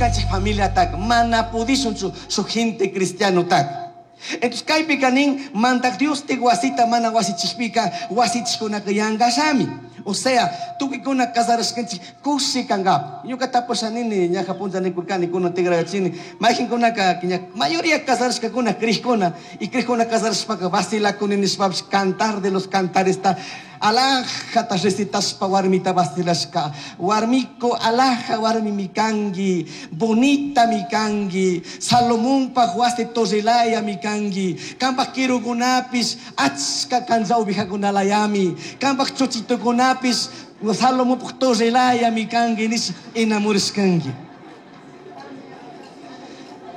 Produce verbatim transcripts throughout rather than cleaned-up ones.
Ñukanchik familiataka mana pudishunchu shuk gente cristianotaka. Entonces kaypika nin Mandaj Dios wasita mana wasichikpika wasichikkunaka yankashami. O sea, tukuykuna casarashkanchik kushi kankapa. Ñuka tapusha nini ñaja punlla nikurkani kunan tigrayachini mayqinkunaka ña mayoría casarashkakuna crijkuna y crijkuna casarashpaka vacilakuni nishpapish Cantar de los Cantaresta alajata recitashpa warmita vacilashka. Warmiko alaja warmimi kanki, bonitami kanki, Salomonpaj wasi torrelayami kanki, kanpaj kirukunapish achka cancha ovejakunalayami, kanpaj chuchitukunapish Salomonpaj torrelayami kanki nish enamorashkanki.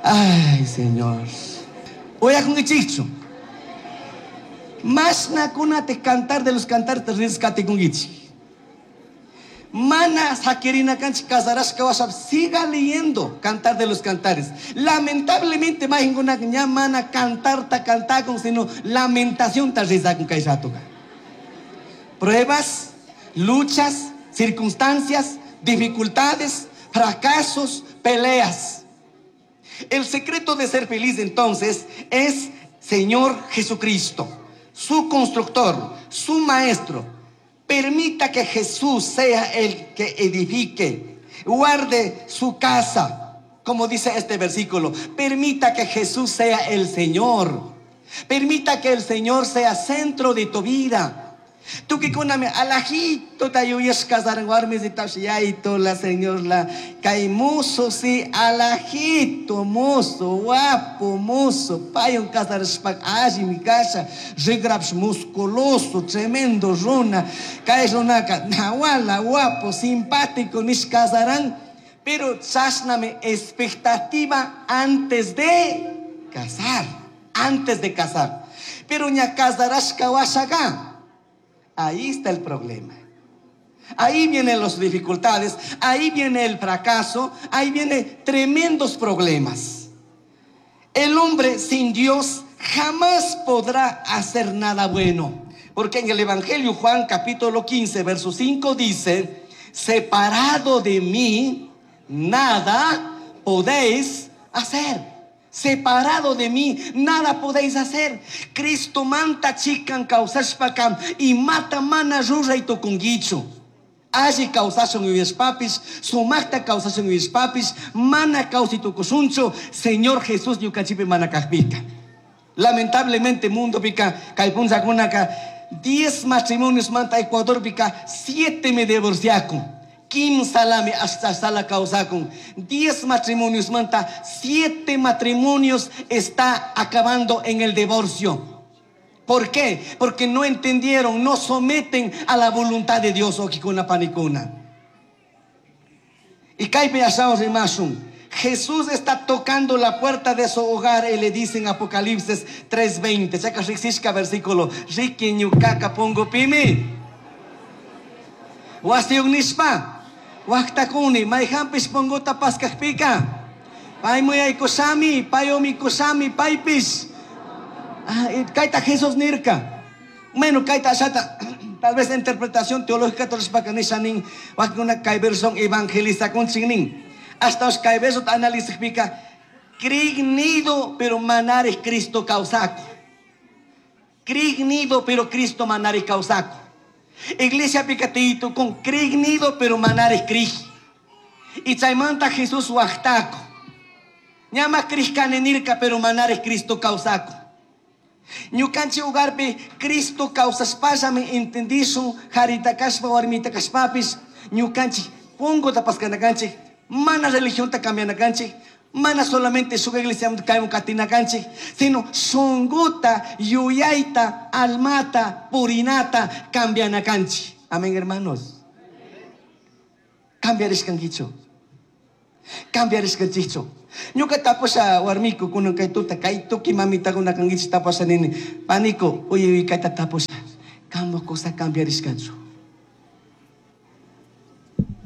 Ay, Señor. Uyakunkichikchu. Mashnakunata Cantar de los Cantares rizkatikunkichik. Mana sakirina kanchik casarashka washa siga leyendo Cantar de los Cantares. Lamentablemente mayqinkunaka ña mana cantarta cantakun, sino lamentación ta rizakun kay ratoka. Pruebas, luchas, circunstancias, dificultades, fracasos, peleas. El secreto de ser feliz entonces es Señor Jesucristo, su constructor, su maestro. Permita que Jesús sea el que edifique, guarde su casa, como dice este versículo. Permita que Jesús sea el Señor. Permita que el Señor sea centro de tu vida. Tukuykunami alajito tayuyashka kasaran warmisitash yayito la señor la kay muso si alajito muso guapo muso paywan kasarashpaka allimi kasha rigrapish musculoso tremendo runa kay runaka nawala guapo simpático nish kasaran, pero chashnami expectativa antes de casar, antes de casar, pero ña kasarashka washaka. Ahí está el problema. Ahí vienen las dificultades, ahí viene el fracaso, ahí vienen tremendos problemas. El hombre sin Dios jamás podrá hacer nada bueno. Porque en el Evangelio Juan capítulo quince, verso cinco dice: separado de mí, nada podéis hacer. Separado de mí, nada podéis hacer. Cristo manta chikan kawsashpaka imata mana ruray tukunkichu. Alli kawsashun yuyashpapis, sumakta kawsashun yuyashpapis, mana kawsay tukushunchu, Señor Jesús ñukanchikpi mana kajpika. Lamentablemente mundo pika, kay punllakunaka, diez matrimonios manta Ecuador pika, siete me divorciakun. Kimsalami hasta sala causacun. Diez matrimonios manta, siete matrimonios está acabando en el divorcio. ¿Por qué? Porque no entendieron, no someten a la voluntad de Dios, wawkikuna panikuna. Y kaypi ashawan rimashun. Jesús está tocando la puerta de su hogar y le dice en Apocalipsis tres veinte. Chayka riqsishka versículo. Riqui ñukaka pungupimi. Wasiyuq nishpa. Waqtakuni, mayqanpis punguta paskaqpika. Paymi yaykushami, paywan mikushami, paypis. Ah, kayta Jesús nirka. Bueno, kayta ashata, tal vez interpretación teológica torishpaka nisha nin, wakinkuna kay verson evangelizakunchik nin. Hasta os kay verso analizaqpika, crignido pero manarij Cristo kawsako. Crignido pero Cristo manarij kawsako. Iglesia picatito con crignido pero manarij crij. Y chaymanta Jesús waqtako. Ñama crij nirka pero manarij Cristo kawsako. Ñukanchik hogarpi Cristo kawsashpallami entendishun qarita kashpa warmita kashpapis ñukanchik punguta paskanakanchik mana religionta cambianakanchik mana solamente shuk iglesia kayman katinakanchik sino shunguta yuyayta almata purinata cambianakanchik. Amén, hermanos. Cambiarishkankichu. Cambiarishkanchikchu. Ñuka tapusha warmiku kunan kay tuta kay tuki mamitakuna kankichik tapusha nini paniko uy uy kayta tapusha kamo cosa cambiarishkanchu.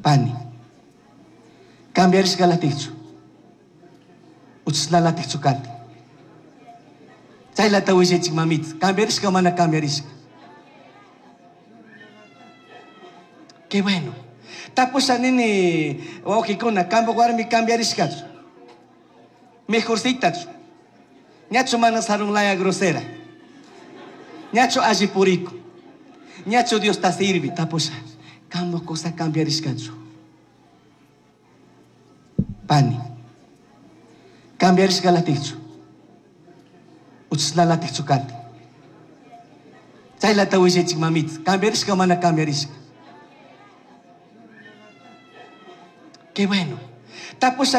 Pani cambiarishkalatikchu uchlalatikchu kati chaylata willaychik mamita cambiarishka mana cambiarishka. Qué bueno. Tapusha nini wawqikuna, kampak warmi cambiarishkachu. Mejorcitachu. Ñachu mana sarunlaya grosera. Ñachu alli purico. Ñachu Diosta sirvi. Tapusha, kampak kusa cambiarishkachu. Pani. Cambiarishkalatikchu. Uchashnalatikchu kati. Chaylata willaychik mamita. Cambiarishka mana cambiarishka. Qué bueno. Tapusha